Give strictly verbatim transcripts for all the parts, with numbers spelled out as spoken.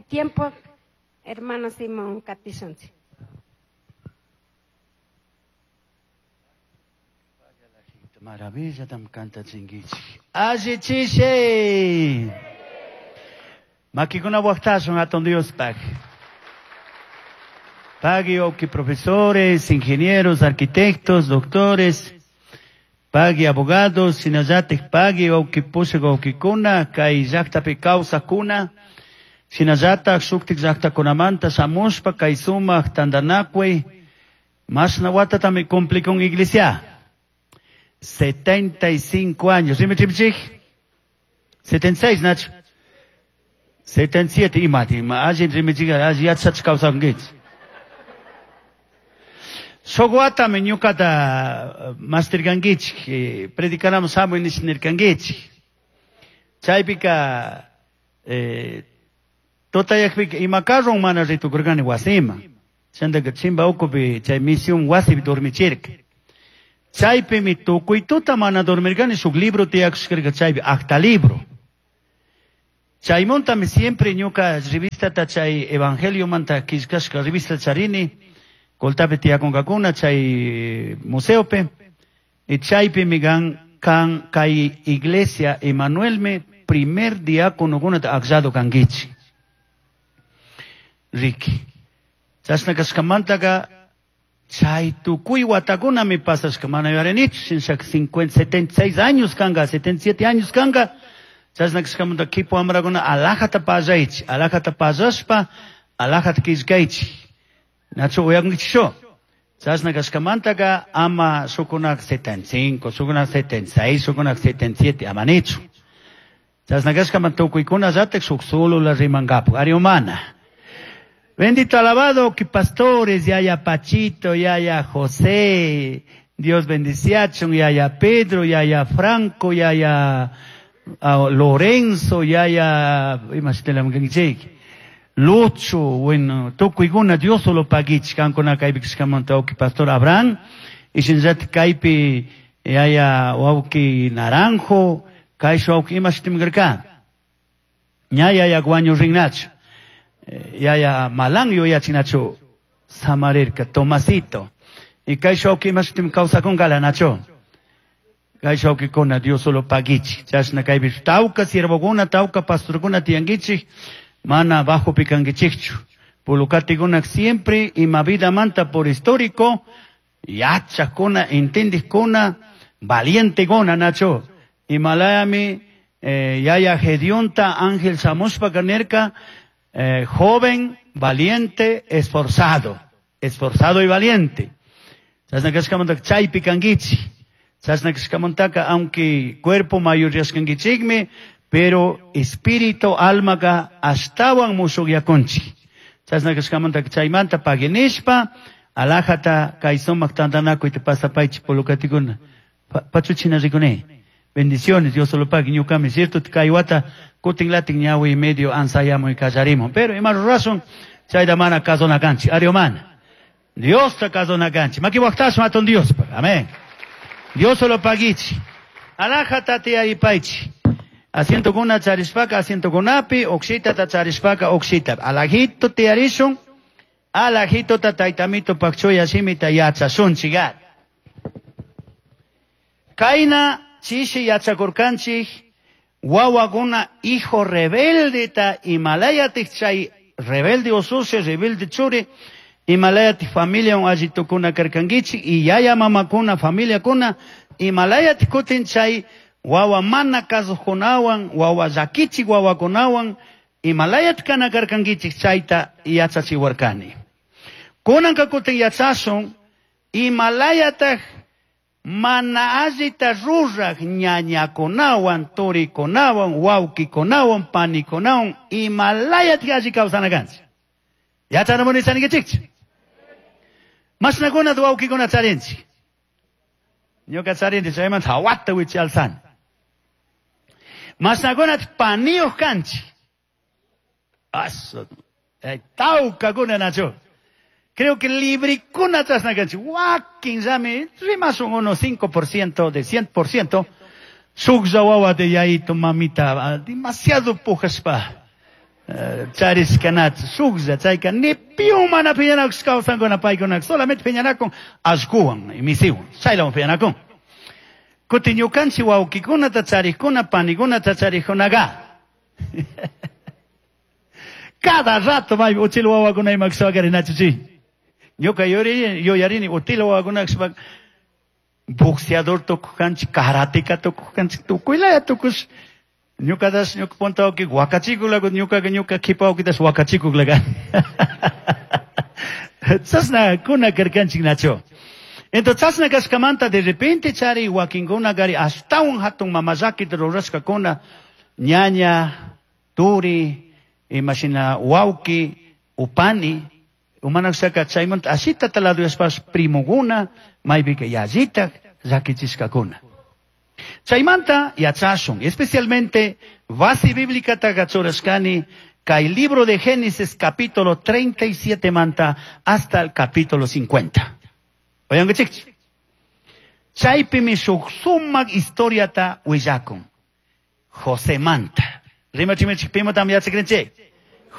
Tiempo, hermano Simón katishunchik. Maravilla tam canta chinguichi. Alli chishe. Makikuna waqtasun hatun Diospaq. Pagui oki profesores, ingenieros, arquitectos, doctores, pagui abogados, shinallatik pagui oki pushak okikuna, kay llaqtapi kawsaqkuna, shinallatak shuktik llaqtakunamanta shamushpa kay sumaq tantanakuy, mashna watatami cumplikun iglesia. setenta y cinco años. Dime, chimchik. setenta y seis, Nacho. setenta y siete, imati, allí rimichik, allí yachach kawsankichik. Shuk watami ñuqata mastirkankichik, predicanamos hamuy nish nirkankichik. Chaypika eh, tutayaqpika ima carron mana ritukurqani wasima. Chantaka chimba ukupi chay misión wasipi dormichirka. Chaypimi tukuy tuta mana dormirkani shuk libro tiyakushkarka chaypi acta libro. Chaymuntami siempre ñuka revistata chay evangeliomanta killkashka revista charini, Coltapi tiyakunkakuna chay museopi, y chaypimi kan kan kay iglesia Emanuelmi primer diáconokunata akllado kankichik. Riki. Chashna kashkamantaka chay tukuy watakunami pasashka mana yuyarinichu, shinshaka cincuenta, setenta y seis años kanka, setenta y siete años kanka. Chashna kashkamanta kipu wamrakuna alajata pallaychik, alajata pallashpa alajata killkaychik. Nacho uyakunkichik. Chashna kashkamantaka ama shukunak setenta y cinco, shukunak setenta y seis, shukunak setenta y siete, ama nichu. Chashna kashkamanta tukuykuna llatak shuk solo rimankapak, ari humana. Bendito alabado que pastores, yaya Pachito, yaya José, Dios bendiciachon, yaya Pedro, yaya Franco, yaya uh, Lorenzo, yaya, imagínate, Lucho, bueno, tukuykuna Dios solo paguich, kankuna kaypi kashkamanta wawqi pastor Abraham, y shinllatik kaypi yaya wawqi Naranjo, kaysh wawqi imashitim karka. Ña yaya guaño rinnachu. Yaya Malan yuyachinachu samarirka, Tomasito. Y kaysh wawqi imashitim kawsakunkala nachu. Kaysh wawqikuna Dios solo paguich. Chashna kaypi tawka siervokuna, tawka pastorkuna tiyankichik, mana bajo pikankichikchu. Pulukatikuna siempre ima vida manta por histórico, yachakuna, entendikuna, valientekuna, nacho. Himalayami, eh, yaya Gedionta, Ángel shamushpa kanerka, eh, joven, valiente, esforzado. Esforzado y valiente. Chashna kashkamanta chaypi kankichik. Chashna kashkamantaka, aunque cuerpo mayoryashkankichikmi, pero espíritu, almaka ashtawan mushuqyakunchik. Chashna kashkamantaka chaymanta paginishpa, alajata kay sumaq tantanakuyta pasapaychik pulukatikuna. Pachuchina rikuni. Bendiciones, Dios solo pague, ñuqami, cierto, kay wata kutin latin ñawi medio ansayamuy kallarimun. Pero ima rurasun, chayta mana kasunakanchik, ari mana. Diosta kasunakanchik. Maki waqtasun hatun Diospa. Amén. Dios solo paguichi. Alajata tiyaripaychik. Asientokuna charishpaka, asientokunapi, oxitata charishpaka, oxita. Alajito tiyarishun, alajito taytamito pakchuya shimita yachasunchik. Kayna chishi yachakurkanchik, wawakuna hijo rebelde ta imalayatik chay rebelde usushi, rebelde churi, imalayatik familia un allitukuna karkankichik, y yaya mamakuna, familiakuna, imalayatik kutin chay wawa mana kasuqkunawan, wawa llakichik wawakunawan, imalayat kana karkankichik chayta yachachiwarkani. Kunanka kutin yachasun, imalayataq mana allita ruraq ñañakunawan, turikunawan, wawqikunawan, panikunawan, imalayat alli kawsana kanchik. Yachanamuni chanikichikchu. Mashnakunata wawqikuna charinchik. Ñuka charinchik chaymanta hawata wichi alzani. Mashnakunata paniyuq kanchik. Asu, eh, tawkakuna nachu. Creo que librikuna chashna kanchik. Wakin llami, rimasun unos cinco por ciento de cien por ciento. Shuklla wawa de yayito mamita, demasiado pujashpa. Charishkanachu shuklla chayka ni piun mana piñanakush kawsankuna paykunaka solamente piñanakun allquwan misiwan chaylawan piñanakun. Kuti ñukanchik wawqikunata charikuna panikunata charikkunaqa cada rato may uchil wawakuna imakshpa rinachu ñuka yuyarini util wawakuna boxeador tukukanchik karateka tukukanchik tukuylaya tukush ñukatas ñuka punta wawqi wakachikuklaku ñukaqa ñuka kipa wawqitas wakachikuklaka chashna kuna karkanchik nachu. Entonces chashna kashkamanta de repente chari wakinkuna kari ashtawan hatun mamallakita rurashkakuna ñaña turi imashina wawqi upani umanakshaka chaymanta ashita taladuyashpash primukuna maypika yallita llakichishkakuna. Chaymanta yachashun, especialmente base bíblica churashkani kay libro de Génesis capítulo treinta y siete manta hasta el capítulo cincuenta. Oyankichikchi. Chaypimi shuk sumak historiata willakun. José manta. Rimachimichik pimatam yachakrinchik.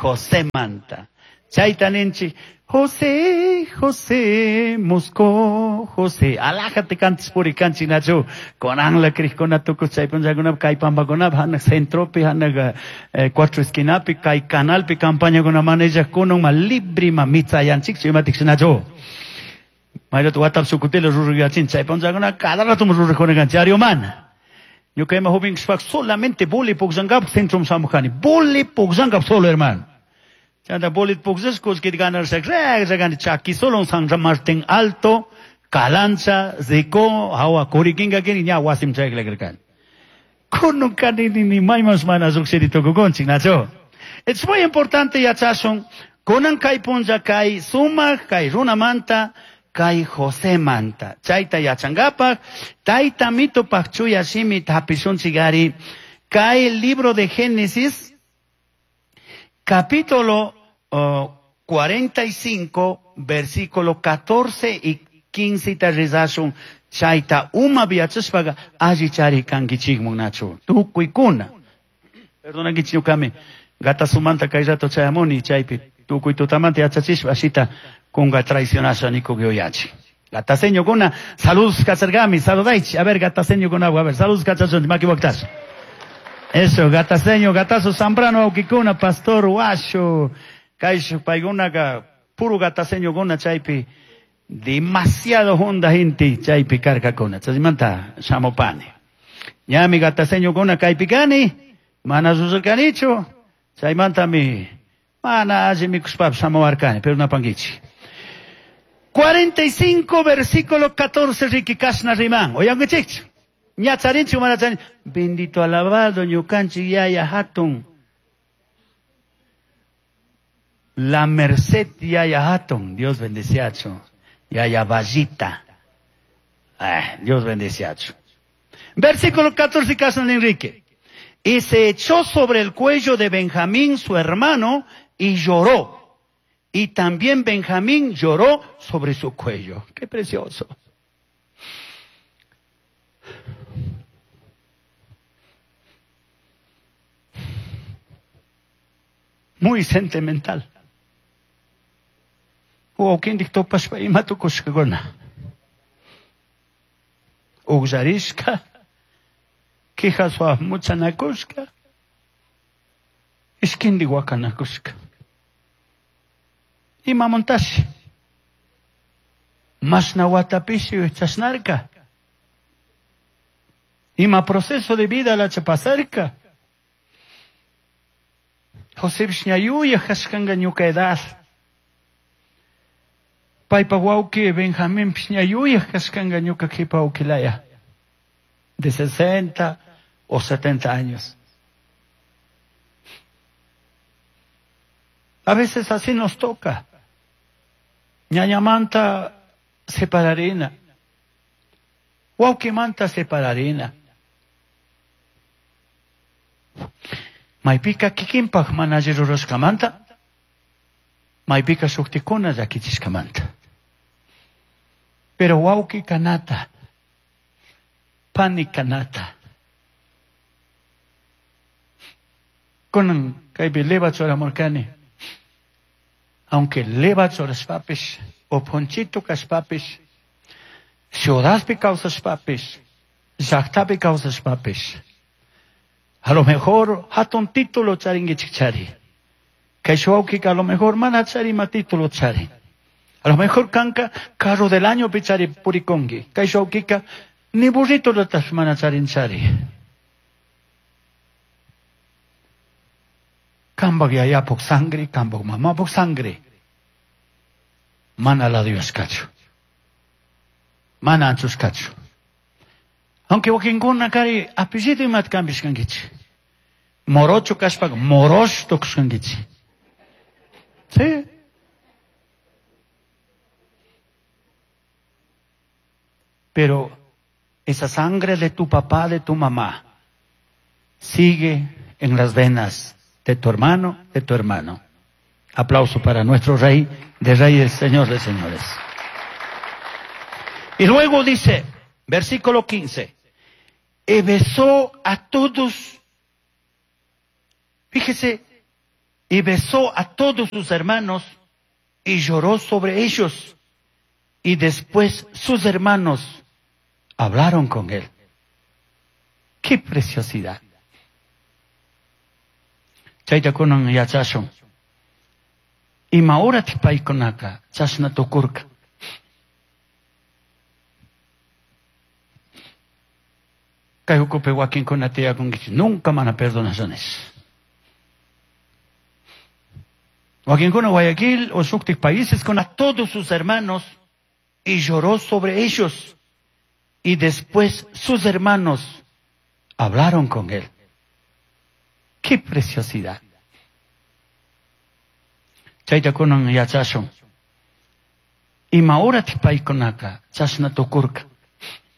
José manta. Chayta ninchik José, José, Moscó, José. Alájate cantis puri kanchik nachu. Konanla krikuna tukus chaypunchakuna kay pampakuna hanak centropi hanak eh, cuatro esquinapi kay canalpi campañakuna manellakuna ma libri ma mitzayanchik imatik nachu. Mayratu watap sukutila ruruyachin chaypunchakuna cada rato rurukuna kanchik ariumana. Ñuka ima joven solamente boli pukllankap centrum samujani. Boli pukllankap solo hermano. Chanta bolit pukllashkus kit ganar shak chaki solo San Martín Alto, Calancha, Zico, hawa kurikinga kini ña wasim chaykla Kuno kani ni maymas mana lluqshiri tukukunchik nachu. Es muy importante yachashun kunan kay punlla kay sumaq kay runamanta kay José manta. Chayta yachankapak tayta mitupaq chuya shimi hapishunchik ari kay libro de Génesis capítulo oh, cuarenta y cinco, versículo catorce y quince ta rezashun chayta uma viachashpaqa alli chari kankichikmun nachu tukuykuna. Perdonankichik ñuqami gatasumanta kay rato chayamuni chaypi tukuy tutamanta yachachishpa ashita kunga traicionasha nikuq yuyachik. Gataseñokuna saludos kacharkami saludaychik. A ver gataseñokuna a ver saludos kachachunchik maki waqtash. Eso, gataseño, gatazo Zambrano, wawqikuna, pastor Washo, kay paykunaka puro gataseñokuna chaypi demasiado honda gente chaypi karkakuna. Chaymanta shamupani. Ñami gataseñokuna kaypi kani, mana rurarkanichu, chaymantami mana alli mikushpapish shamuwarkani, pero napankichik. cuarenta y cinco versículo catorce riki kashna riman. Oyankichikchu. Ñacharinchu mana charin. Bendito alabado ñukanchik yaya hatun. La merced yaya hatun. Dios bendeciacho. Yaya vallita. Ah, Dios bendeciacho. Versículo catorce caso Enrique. Y se echó sobre el cuello de Benjamín su hermano y lloró. Y también Benjamín lloró sobre su cuello. Qué precioso. Muy sentimental. Wawqintik tupashpa ima tukushkakuna. Uqllarishka, quijaswa muchanakushka, ishkindik wakanakushka. Imamantashi? Mashna watapishi chashnarka. Ima proceso de vida lacha pasarka. Josepish ñayuyaj kashkanka ñuka edad. Paypa wawqi Benjaminpish ñayuyaj kashkanka ñuka qhipa wawqilaya. De sesenta o setenta años. A veces así nos toca. Ñañamanta separarina. Wawqimanta separarina. Maypika kikinpaq mana alli rurashkamanta, maypika shuktikuna llakichishkamanta. Pero wawqi kanata, pani kanata. Kunan Kaypi leva churamurkani. Aunque leva churashpapish, o ponchito kashpapish, ciudadpi kawsashpapish, llaqtapi kawsashpapish, a lo mejor hatun título charinkichik chari. Kay wawkika a lo mejor mana chari ima título chari. A lo mejor kanka carro del año pichari purikonki. Kay wawkika ni burrito latash mana charin chari. Kambak yayapuk sangre, kambak mamapuk sangre. Mana la Dios kachu. Mana anchushkachu. Aunque wakinkuna kari apellido imat kambishkankichik. Morocho kashpaka morosh tukushkankichik. Sí. Pero esa sangre de tu papá, de tu mamá, sigue en las venas de tu hermano, de tu hermano. Aplauso para nuestro Rey de Reyes, Señor de Señores. Y luego dice, versículo quince, y besó a todos, fíjese, y besó a todos sus hermanos y lloró sobre ellos. Y después sus hermanos hablaron con él. ¡Qué preciosidad! Chayta kunan yachashun. Ima horatik paykunaka chashna tukurka. Kay ukupi wakinkuna tiyakunkichik nunca mana perdonashanis. Wakinkuna Guayaquil o shuktik países con a todos sus hermanos y lloró sobre ellos. Y después sus hermanos hablaron con él. ¡Qué preciosidad! Chayta kunan yachashun. Ima horatik paykunaka chashna tukurka.